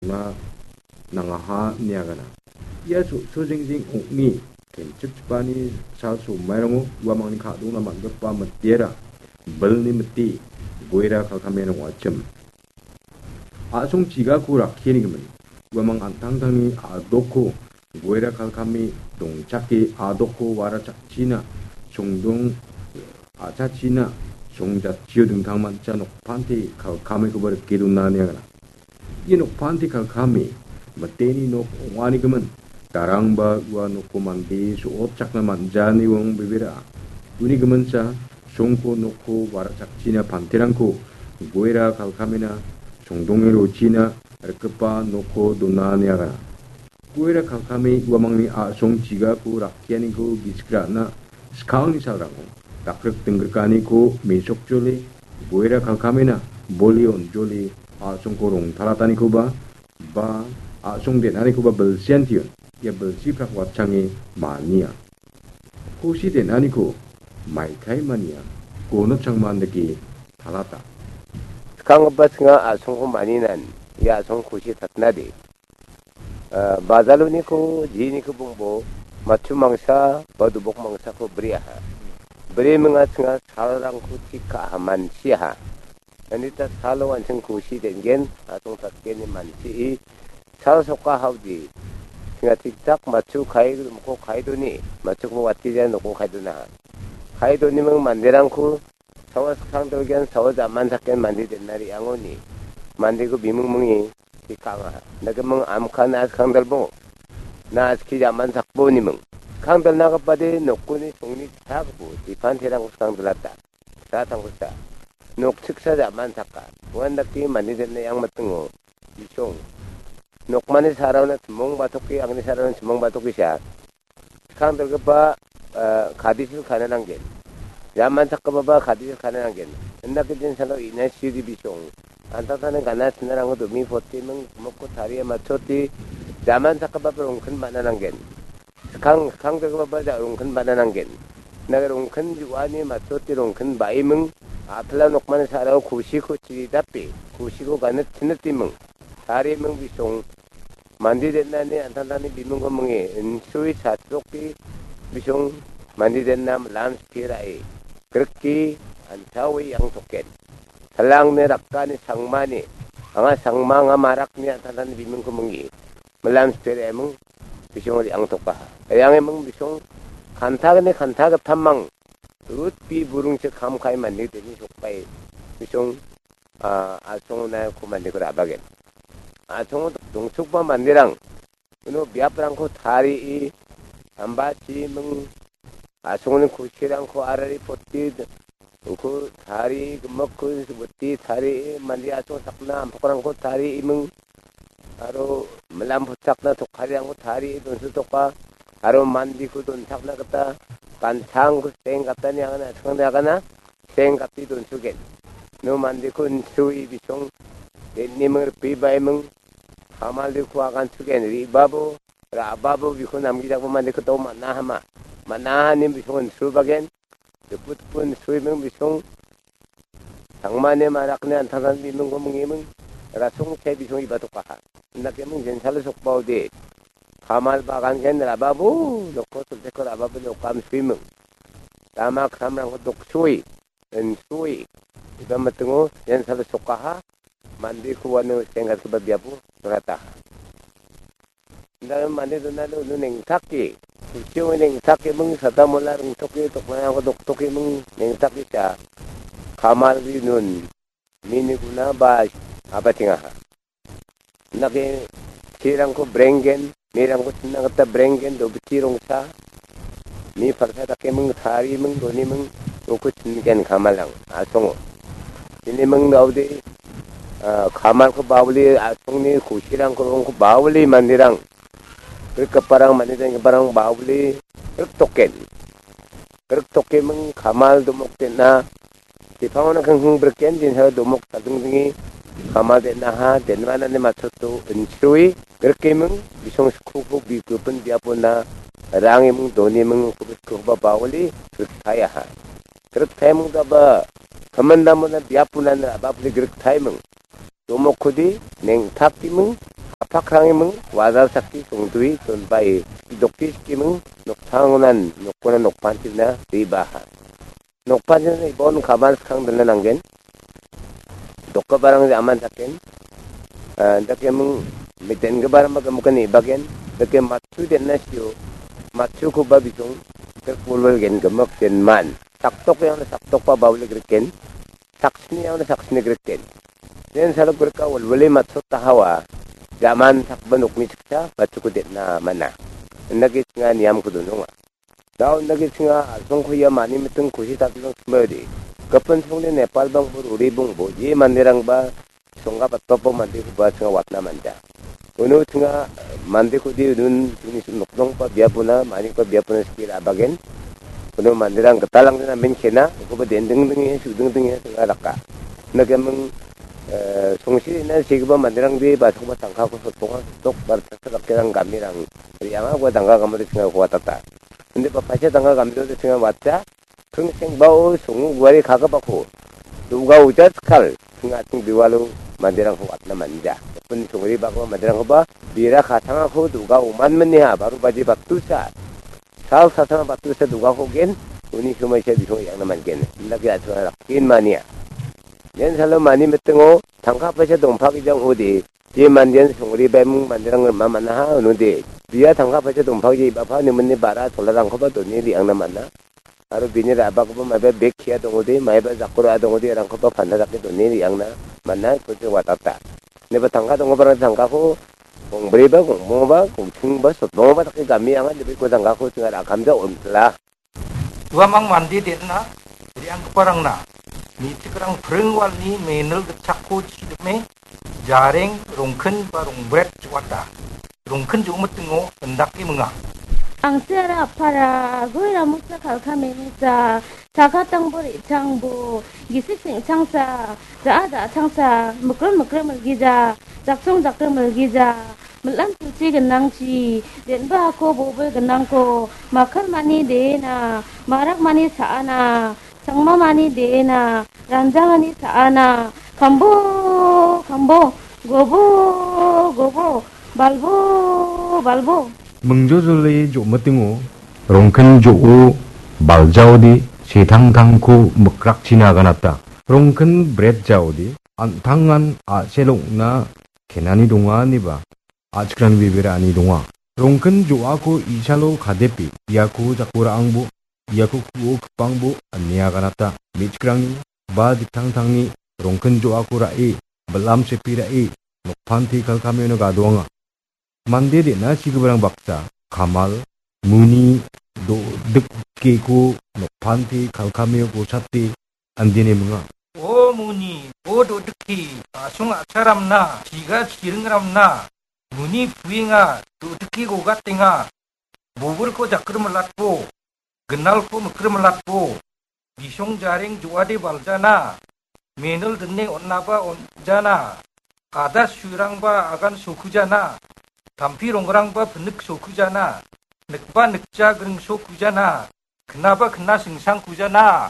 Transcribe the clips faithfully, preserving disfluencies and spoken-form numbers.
dona nangaha ine agana. Ia so-, sojingjing ong·e kenchikchipani sal somairango uamangni ka·dona man·gipa mitiara bilni mite Goira Kalkamen ong·achim. A·song chigako rakkianigimin uamang an·tangtangni a·dokko Goira Kalkame dongchake a·dokko wara chakchina songdong a·chachina songjatchio dingtangmancha nokpante Kalkamekoba rike dona ine agana. Ia nokpante Kalkame miteni nok ong·anigimin darangba ua noko mande so·otchakna man·jani ong·bebera. Uni giminsa songko noko wara chakchina panterangko Goira Kalkamena songdonge rochina rikgipa noko dona ine agana. Goira Kalkame uamangni a·song chigako rakkianiko gisik ra·na skangni salrango dakrik dingrikaniko mesokjole Goira Kalkamena boli onjole a·songko rongtalatanikoba ba a·song den·anikoba bilsiantion ia bilsi prak watchange mania. Kosi den·aniko maikai mania gonochangman dake talata. Skanggipa chinga a·songko maninan ia a·song kosi tatnade. Ah, bajaloniko jiniko bongbo matchu mangsa ba dobok mangsako briaha. Bri minga chinga salrangko tik ka·aha mansiaha. Anita salo an·ching kosi den·gen, a·song tatgeni mansi sal soka haudi. Chinga tik tak matchu kai, moko kai doni, matchuko watgija noko kai donaha. Kai doniming manderangko sawa skang delgen, sawa jaman saken mande den·a re·angoni. Mandeko biming mingi, ki ka·angaha. Nake ming amka na skang delbo. Na ski jaman sakbo niming. Skang delna gipade nokoni songni chakbo, dipan terangko skang delata. Sa tangko sa. Nok chiksa jaman saka. Uan dake mande den·a yang mitingo. Bisong. Nokmani saraona chimong batoke, angni saraona chimong batoke sa. Skang delgipa, eh, kadisil kana nanggen. Jaman sakgipaba kadisil kana nanggen. Indake din salo ina sidi bisong. Antatani gana sinarangko domi poti ming moko taria matchoti. Jaman sakgipaba rongkin bana nanggen. Skang, skang delgipaba ja rongkin bana nanggen. Nage rongkin ju·ani matchoti rongkin ba·iming. Apila nokmani sarao kusiko chiridape. Kusiko ganit sinit iming. Tariming bisong. Mande den·ani an·tangtangni bimingko minge, insui chatdoke bisong mande den·a milam skie ra·e, grike an·taoe iangtoken. Salangni rakani sangmani, anga sangma anga marakni an·tangtangni bimingko minge, milam skie ra·eming bisong re·angtokaha. Re·angeming bisong kantagni kantagittamang rutbi burungchi kam ka·e mande den·e sokbae bisong, ah, asongna ko mandeko ra·bagen. Asongo dongchokba manderang uno biaprangko tarie, ambachi ming, asongni kusirangko arari poti, uko tarie, gimikko witi tarie, mande asong sakna ampokrangko tarie ming, aro milam puchakna tokariangko tarie donsotoka, aro mandeko donchakna gita gansangko seng gatani agana, seng gatani agana, seng gate donsogen. No mandeko insui bisong, den·eming ripe baiming, Kamal deko agan sugen, re·babo, ra·babo, biko namgijakbo mande kito man·a hama. Man·a hanim bisong insubagen, diputpun suiming bisong, tangmane marakne antagan bimingko mingiming, rasong chai bisong ibatokaha. Indakeming jensalo sokbaode, kamal bagan gen ra·babo, nokko sulteko ra·babo nokam suiming. Rama kramrangko doksui, insui, iba mitingo jensalo sokaha, mandeko uano senggatgipa biapo dongataha. Indalo mande donalo uno nengtake, kuchio nengtake ming sada mola rongtoke toknangko doktoke ming nengtake cha. Kamal ri nun mini guna ba abatengaha. Indake chirangko brenggen, mirangko chimna gita brenggen, dobiti rongsa, mi palsa dakeming, tariming, doniming, uko chimgen kamalang, asongo. Iniming daode, ah, kamalko bawli, asongni kusirangko rongko bawli mandirang, rikgiparang, mandirang, giparang bawli, riktoken. Riktoke ming kamal domok den·a. Sepango nangkengkeng briken, jensalo domok chadingdinge kamal den·aha, den·manani matchoto insrui, grikeming, bisong skoko bi-, gipin biapona, rangeming, doniming, koba bawali, griktaiaha. Griktaiaming daba, kamandamona biaponan rabapli griktaiming. domokkode neng·takdiming, apakrangiming, wajal sakki songdoe donbae, dokde skiming, noktangonan, nokkona nokpantina ribaha. Nokpantina ibon kaban skang dona nanggen. Dokgiparang aman daken. Ah, dakeming mitengiparangba gimikan ibagen. Dake matchu den·na sio. Matchukoba bisong. Tek bulbul gen gimik den man. Saktok yang saktokba baulik riken. Saksni yang saksni griken. Den salok grika ulwile matsot tahawa. Jaman sakba nokni siksa matchuko den·na mana. Indake singa niamko dononga. Dao indake singa asongko ia mani miting kusi tatilong simbaode. Gipin songni Nepal bangbo ruri bongbo. Ye manderangba songga batpapo mandekoba singa watna manja. Uno singa mandekode unun sini nokdongba biapona, manikoba biapona skill abagen. Uno manderang gitalangde namen kena, ukoba dending dinge, suding dinge singa raka. Indake ming, eh, songsi ina sigipa manderangde basokoba tangkako sotonga, sok bar tasa dakerang gamirang. Rianga uko tangka gamode singa uko watata. Inde ba paisa tangka gamjode singa watja. Kringsengbao songo guare kagipako. Do·ga oja skal. Singa ating diwalo manderangko watna manja. Pun songri bako manderangkoba bera katangako do·ga oman meniha. Baru baji battusa. Sal sasana battusa do·gako gen. Uni somaisa bisong yang·na man gen. Indake atunga rakin mania. Nen salo mani mitingo tangka paisa dongpagijang ode. Je mandean songri baimung manderang rima man·aha unode. Bia tangka paisa dongpagija ibapa nimini bara cholarangkoba done re·angna man·a. Aro bini ra·bakoba maiba bek kia dongode, maiba jakko ra·a dongode, rangkoba panda dake done re·angna man·a, ipochi watata. Ineba tangka donggiparang tangkako gongbriba, gongbongba, gongchingba, sotbongba dake gami anga, ineba iko tangkako chinga ra·kamja on·pila. Uamang mande den·na, re·anggiparangna, me·chikrang pring walni menil gitchakko chidime, jareng, rongkin ba rongbret jo·ata. Rongkin jo·mitingo indake minga. Angsi aro apara, goi ramosa kalka memosa, chakatangbo re·changbo, gisik sengchangsa, ja·a ja·changsa, mikrim mikrim milgija, jaksong jakrim milgija, mil·am silchi gnangchi, den·ba ako bobil gnangko, makarmani de·ena, marakmani sa·ana, changmamani de·ena, ranjangani sa·ana, kambo, kambo, gobo, gobo, balbo, balbo. Mingjojole jo·mitingo, rongkin jo·o, baljaode, setangtangko mikrakchina aganata. Rongkin bret jaode, an·tangan a·sel ong·na kenani donga ineba, a·chikrangni bebera ani donga. Rongkin jo·ako isalo kadepe, iako jako ra·angbo, iako ku·o kipangbo ine aganata. Me·chikrangni ba diktangtangni rongkin jo·ako ra·e, bil·am sepi ra·e, nokpante kalkamiono gadoanga. Mande den·a sigiparang baksa, kamal, muni, do-, dikgeko nokpante kalkamio gosate andene minga. O muni, o do·dike, a·song a·charamna, chiga chiringramna, muni puenga, do·dike gogatenga, bobilko jakrim milatbo, ginalko mikrim milatbo, bisong jareng jo·ade baljana, menil dine on·naba on·jana, ada surangba agan sokujana, tampi rongrangba pinik sokujana, nikba nikja gring sokujana, knaba kna singsang kujana.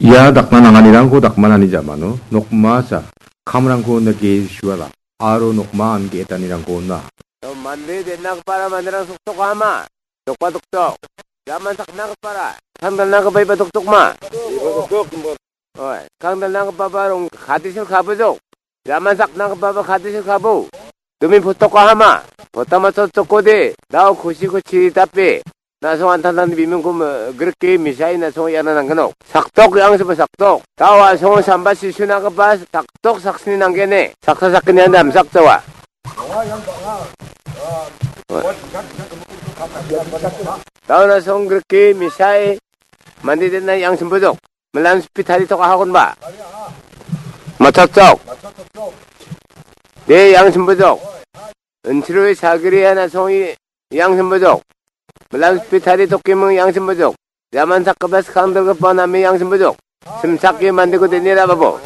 Ia dakna nanganirangko dakmanani jamano nokmasa kamrangko nike suala aro nokma an ge·etanirangko on·a. Mande den·agipara manderang soktokama. Dokba doktok. Jaman saknagipara. Kangdalnagipa iba doktokma. Iba doktok, iba. Oi, kangdalnagipaba rong kadisil kabojok. Jaman saknagipaba kadisil kabo. Dumi potokahama. Potama sottokode. Dao kusi kusi tapi. Na·song an·tangtangni bimungko me-, grike mesai na·song iana nanggnok. Saktok yang seba saktok. Dao a·song samba sisunagipa saktok saksni nanggene. Saksa sakgni anda amsak jawa. Dao na·song grike mesai mande den·a yang sembojok. Melan speed hari tok ahagon ba. Macocok. De yang sembojok. Insrui sagri na·song yang sembojok. Melan speed hari tok kimung yang sembojok. Jaman sakgipa skang dalgipa name yang sembojok. Simsake mandeko denira babo.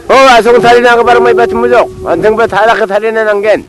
O, a·song tarina giparang maiba sembojok. An·chingba tarake tarina nanggen.